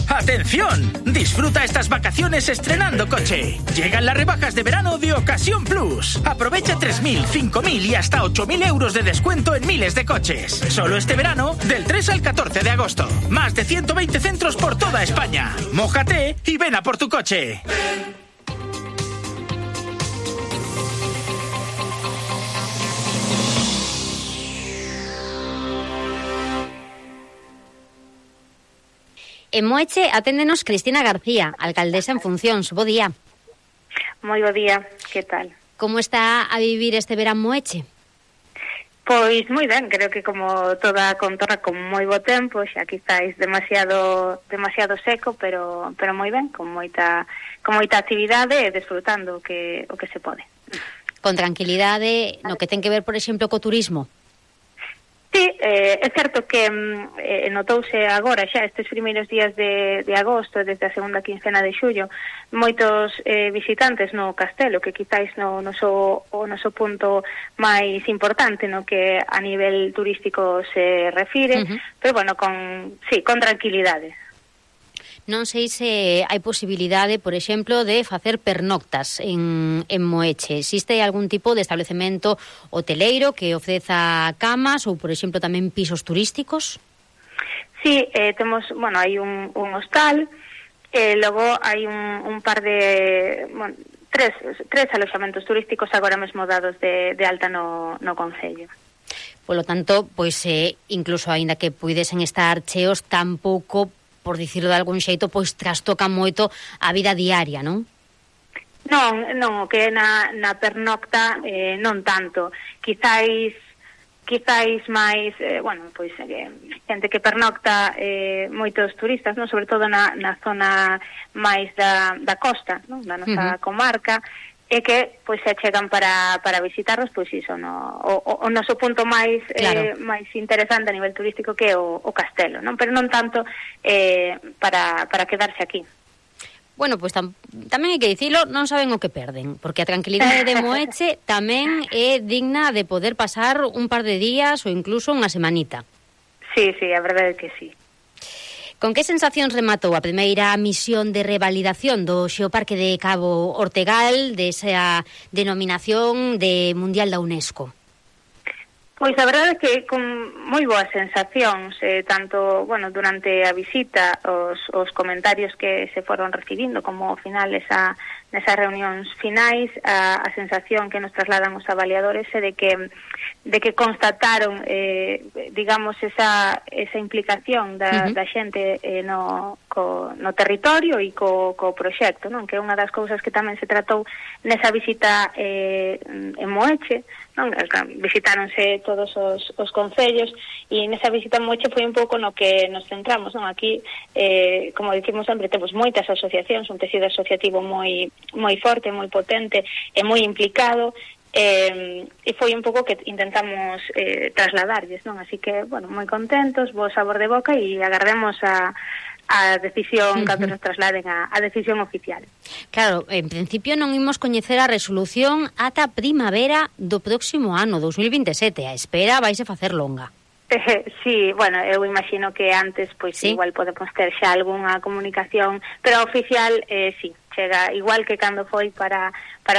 ¡Atención! Disfruta estas vacaciones estrenando coche. Llegan las rebajas de verano de Ocasión Plus. Aprovecha 3.000, 5.000 y hasta 8.000 euros de descuento en miles de coches. Solo este verano, del 3 al 14 de agosto. Más de 120 centros por toda España. Mójate y ven a por tu coche. En Moeche aténdenos Cristina García, alcaldesa en funcións. Bo día. Moi bo día, que tal? Como está a vivir este verán Moeche? Pois moi ben, creo que como toda a contorna con moi bo tempo, xa quizáis demasiado seco, pero moi ben, con moita actividade e desfrutando o que se pode. Con tranquilidade, no que ten que ver, por exemplo, co turismo. Sí, é certo que notouse agora xa estes primeiros días de agosto, desde a segunda quincena de xullo, moitos visitantes no castelo, que quizáis o noso punto máis importante no que a nivel turístico se refire, pero bueno, con tranquilidade. Non sei se hai posibilidade, por exemplo, de facer pernoctas en Moeche. Existe algún tipo de establecemento hoteleiro que ofreza camas ou, por exemplo, tamén pisos turísticos? Sí, temos, hai un hostal, logo hai un par de, tres aloxamentos turísticos agora mesmo dados de alta no concello. Polo tanto, pois incluso aínda que puidesen estar cheos, tampouco, por dicirlo de algún xeito, pois trastoca moito a vida diaria, non? Non, que na pernocta non tanto. Quizáis máis, xente que pernocta moitos turistas, non, sobre todo na zona máis da costa, non, da nosa comarca, e que pois se achegan para visitarlos, pois iso, o noso punto máis máis interesante a nivel turístico que é o castelo, non? Pero non tanto para quedarse aquí. Bueno, pois tamén hai que dicilo, non saben o que perden, porque a tranquilidade de Moeche tamén é digna de poder pasar un par de días ou incluso unha semanita. Sí, a verdade é que sí. Con que sensacións rematou a primeira misión de revalidación do Xeoparque de Cabo Ortegal, desa denominación de Mundial da UNESCO? Pois a verdade é que con moi boas sensacións, tanto, durante a visita, os comentarios que se foron recibindo, como ao final nesas reunións finais, a sensación que nos trasladan os avaliadores é de que constataron, digamos, esa implicación da xente no territorio e co proxecto, non? Que é unha das cousas que tamén se tratou nesa visita en Moeche, non? Visitáronse todos os concellos e nesa visita en Moeche foi un pouco no que nos centramos, non? Aquí, como dicimos sempre, temos moitas asociacións, un tecido asociativo moi forte, moi potente e moi implicado, e foi un pouco que intentamos trasladarlles, non? Así que, moi contentos, bo sabor de boca e agardemos a decisión cando nos trasladen a decisión oficial. Claro, en principio non imos coñecer a resolución ata primavera do próximo ano, 2027. A espera vaise facer longa. Sí, eu imagino que antes, pois ¿sí? Igual podemos ter xa algunha comunicación, pero oficial, sí, chega igual que cando foi para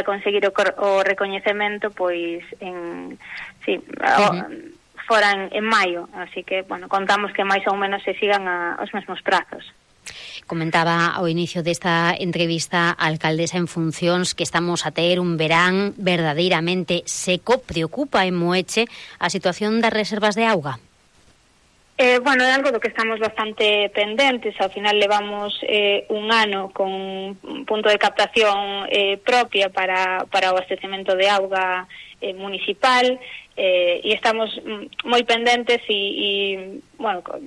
conseguir o recoñecemento, pois foran en maio, así que, contamos que máis ou menos se sigan os mesmos prazos. Comentaba ao inicio desta entrevista a alcaldesa en funcións que estamos a ter un verán verdadeiramente seco. Preocupa en Moeche a situación das reservas de auga? É algo do que estamos bastante pendentes. Ao final levamos un ano con un punto de captación propia para o abastecemento de auga municipal, e estamos moi pendentes e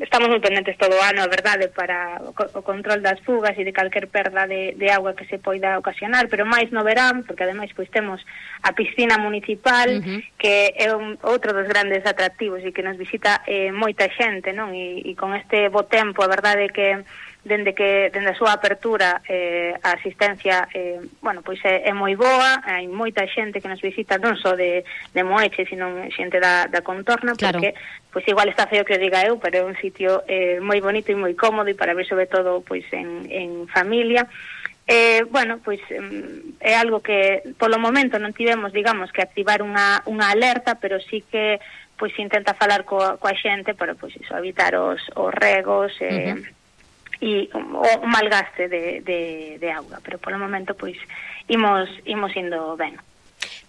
estamos moi pendentes todo o ano, a verdade, para o control das fugas e de calquer perda de auga que se poida ocasionar, pero máis no verán, porque ademais pois temos a piscina municipal, que é outro dos grandes atractivos e que nos visita moita xente, non? E con este bo tempo, a verdade é que dende a súa apertura a asistencia bueno, pois é moi boa, hai moita xente que nos visita non só de Moeche, sino xente da contorna, porque pois igual está feo que o diga eu, pero é un sitio moi bonito e moi cómodo e para ver sobre todo pois en familia. Bueno, pois é algo que polo momento non tivemos, digamos, que activar unha alerta, pero sí que pois intenta falar coa xente para pois iso, evitar os regos e o malgaste de auga, pero polo momento pois imos indo ben.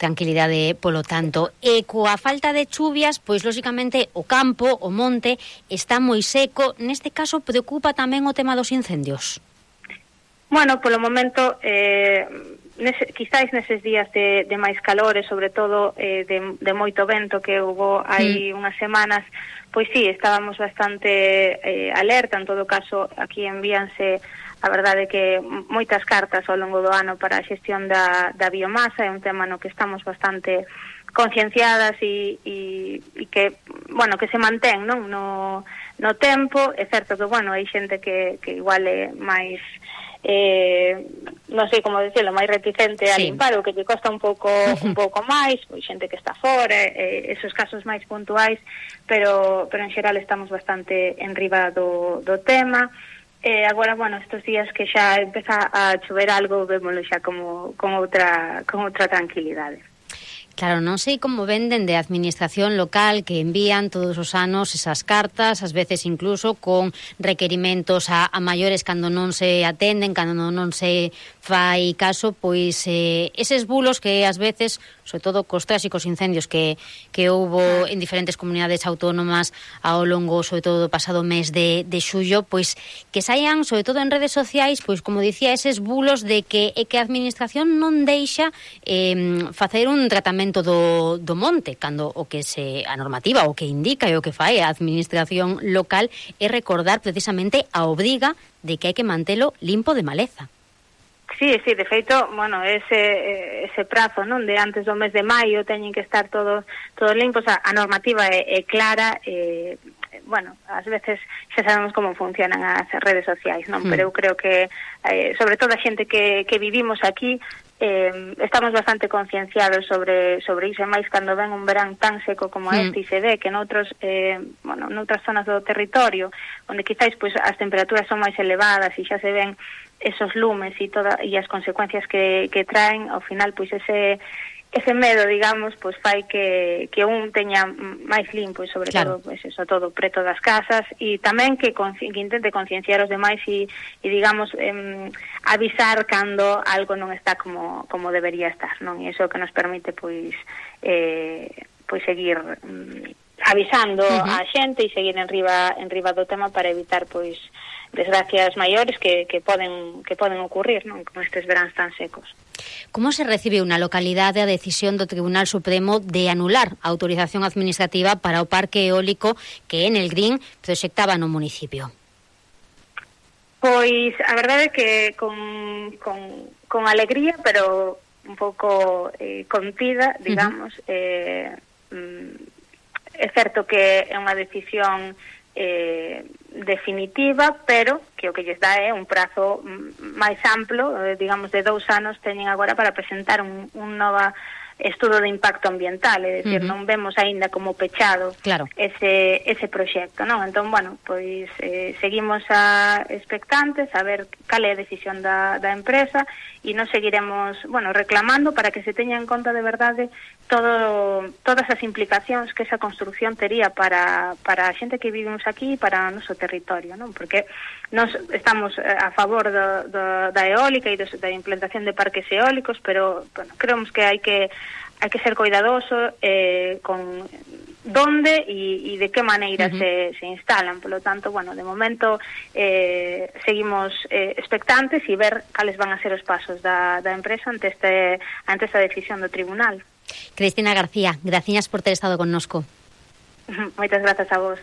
Tranquilidade, polo tanto. E coa falta de chuvias, pois lóxicamente o campo, o monte, está moi seco. Neste caso preocupa tamén o tema dos incendios. Bueno, polo momento, quizáis neses días de máis calor e sobre todo de moito vento que houve hai unhas semanas, pois sí, estábamos bastante alerta. En todo caso, aquí envíanse, a verdade que moitas cartas ao longo do ano para a xestión da biomasa, é un tema no que estamos bastante concienciadas e que, bueno, que se mantén, non, no tempo. É certo que, bueno, hai xente que igual é máis non sei como decirlo, máis reticente a limpar, o que lle costa un pouco máis, pois xente que está fora, esos casos máis puntuais, pero en xeral estamos bastante enriba do tema. Agora, bueno, estes días que xa empeza a chover algo, vémoslo xa con outra tranquilidade. Claro, non sei como venden de administración local que envían todos os anos esas cartas, ás veces incluso con requerimentos a maiores cando non se atenden, cando non se fai caso, pois eses bulos que ás veces, sobre todo cos tráxicos incendios que houbo en diferentes comunidades autónomas ao longo, sobre todo, do pasado mes de xullo, pois que saian, sobre todo en redes sociais, pois como dicía, eses bulos de que a administración non deixa facer un tratamento do monte, cando a normativa, o que indica e o que fai a administración local é recordar precisamente a obriga de que hai que mantelo limpo de maleza. Sí, de feito, bueno, ese prazo, non, de antes do mes de maio teñen que estar todos limpos. A normativa é clara, bueno, ás veces xa sabemos como funcionan as redes sociais, non? Pero eu creo que, sobre todo a xente que vivimos aquí, estamos bastante concienciados sobre iso, máis cando ven un verán tan seco como este, e se ve que noutras zonas do territorio, onde quizáis pois as temperaturas son máis elevadas e xa se ven esos lumes e as consecuencias que traen, ao final pois ese medo, digamos, pois fai que un teña máis limpo e sobre todo, pois eso, todo preto das casas, e tamén que intente concienciar os demais e digamos, avisar cando algo non está como debería estar, non? E iso que nos permite pois seguir avisando a xente e seguir en riba do tema para evitar pois desgracias maiores que poden ocurrir, non, con estes veráns tan secos. Como se recibe unha localidade a decisión do Tribunal Supremo de anular a autorización administrativa para o parque eólico que en el Green proxectaba no municipio? Pois a verdade é que con alegría, pero un pouco contida, digamos. É certo que é unha decisión definitiva, pero que o que lles dá é un prazo máis amplo, digamos de 2 anos teñen agora para presentar un nova estudo de impacto ambiental, é dicir, non vemos aínda como pechado ese proxecto, non? Entón, bueno, pois seguimos expectantes a ver cal é a decisión da empresa e nos seguiremos, bueno, reclamando para que se teña en conta de verdade todas as implicacións que esa construción tería para a xente que vivimos aquí e para o noso territorio, non? Porque nós estamos a favor da eólica e da implantación de parques eólicos, pero bueno, creemos que hai que ser cuidadoso con donde e de que maneira se instalan. Por lo tanto, bueno, de momento seguimos expectantes e ver cales van a ser os pasos da empresa ante esta decisión do tribunal. Cristina García, graciñas por ter estado connosco. Moitas grazas a vos.